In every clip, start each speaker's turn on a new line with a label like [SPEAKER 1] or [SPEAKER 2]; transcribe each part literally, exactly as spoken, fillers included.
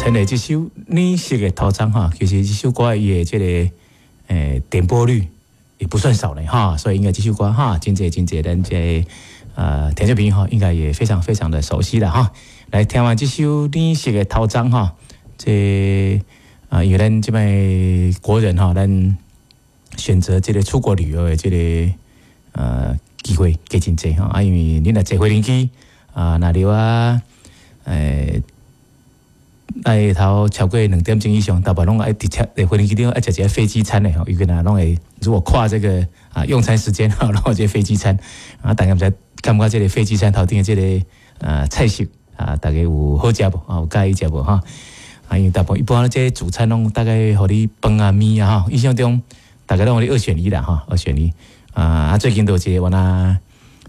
[SPEAKER 1] 陳蕾這首《綠色的頭鬃》哈，其實這首歌伊的這个誒點播率也不算少咧哈，所以應該這首歌哈，真濟真濟咱這个呃聽眾朋友哈，應該也非常非常的熟悉了哈。來聽完這首《綠色的頭鬃》哈，這啊，因為咱這擺國人哈，咱選擇這個出國旅遊的這個呃機會加真濟哈，啊，因為你若坐飛行機啊，若了啊，誒。愛頭超過兩點鐘以上，大部分攏愛佇車飛行機頂愛食一个飛機餐的吼，尤其若攏會如果跨這個啊用餐時間吼，攏有這個飛機餐啊，大家毋知感覺這个飛機餐頭頂的這个啊菜色啊，大家有好食無？啊，有佮意食無？哈啊，因為大部分一般這個主餐攏大概予你飯啊麵啊吼，印象中大概攏予你二選一啦吼，二選一啊啊，最近都有一个我那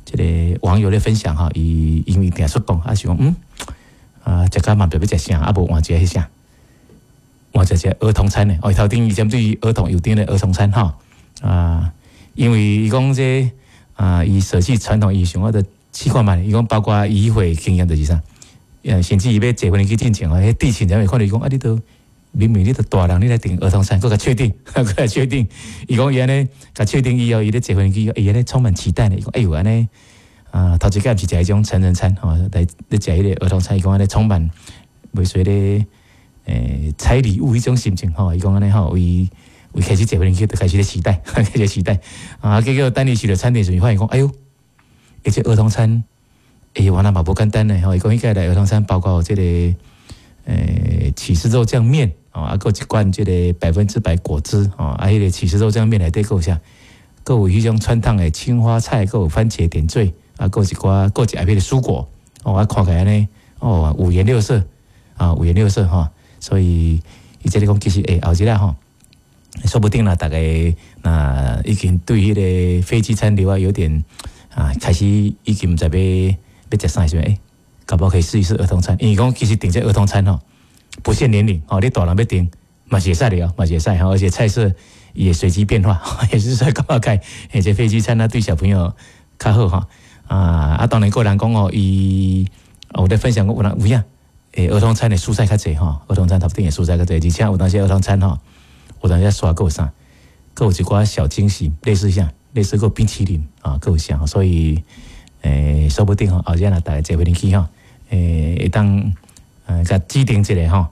[SPEAKER 1] 這个網友咧分享吼，伊因為定出國啊，想講嗯。啊，食甲嘛毋知欲食啥，啊無換一个彼啥，換一个兒童餐的，哦，頭頂伊針對兒童有訂的兒童餐吼，啊，因為伊講這啊，伊捨棄傳統，伊想我著試看覓，伊講包括伊會經驗就是啥，呃，甚至伊欲坐飛機進前哦，彼地勤人員看著伊講啊，你都明明你都大人，你來訂兒童餐，閣共確定，閣共確定，伊講伊按呢，共確定以後，伊咧坐飛機，伊按呢充滿期待呢，伊講哎喲按呢。啊，頭一擺毋是食彼種成人餐吼，來咧食彼个兒童餐，伊講按呢充滿袂說咧，誒拆禮物彼種心情吼，伊講按呢吼，為為開始坐飛機就開始咧期待，開始期待啊，結果等伊去著餐廳時，發現講，哎喲，欸這兒童餐，欸原來嘛無簡單呢吼，伊講彼個來兒童餐包括這个誒起司肉醬麵哦，啊，閣一罐這个百分之百果汁哦，啊，彼个起司肉醬麵內底閣有啥？閣有彼種汆燙的青花菜，閣有番茄點綴。啊，閣有一寡，閣一下彼个蔬果，哦，啊，看起來呢，哦，五顏六色，啊，五顏六色吼，所以伊這裡講其實欸，後日仔吼，說不定啦，大家若已經對彼个飛機餐的話有點啊，開始已經毋知欲欲食啥的時陣，欸，搞不好可以試一試兒童餐，因為講其實訂這兒童餐吼，不限年齡，吼，你大人欲訂嘛是會使的哦，嘛是會使吼，而且菜色也隨機變化，也是說感覺開，而且飛機餐呢對小朋友較好吼。啊啊！當然，個人講哦，伊有咧分享過有人有影，欸，兒童餐的蔬菜較濟吼，兒童餐頭頂的蔬菜較濟，而且有當時兒童餐吼，有當時刷閣有啥，閣有一寡小驚喜，類似啥，類似閣冰淇淋啊，閣有啥，所以欸，說不定吼，後日若大家坐飛機吼，欸，會當呃共指定一个吼。